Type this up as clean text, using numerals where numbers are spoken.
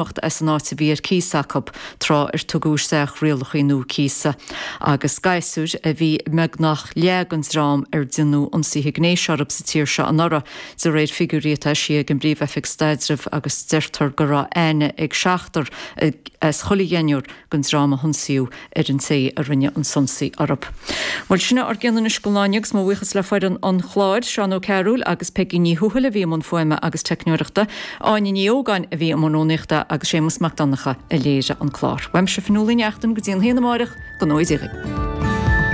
Imeacht as an áit a bhí ar cíos acu tráth ar tugadh isteach rialacha nua cíosa. Agus gasúir a bhí i mbeagnach leath den dream ar déanadh ionsaithe gnéis orthu sa tír seo anuraidh, de réir figiúirí atá eisithe ag an bPríomh-Oifig Staidrimh agus deirtear go raibh aithne ag seachtar as chuile dheichniúr den dream a hionsaíodh ar an té a rinne an t-ionsaí orthu. Bhuel, sin é ár gcion anois don lá inniu agus mo bhuíochas le foireann an chláir, Seán Ó Cearúil agus Peigí Ní Thuathail a bhí i mbun fuaime agus teicneoireachta, Áine Ní Ógáin a bhí i mbun rúnaíochta agus Séamus Mac Donncha a léirigh an clár. Uaimse Fionnuala Ní Neachtain go dtí an haon amáireach, go ngnóthaí Dia dhaoibh.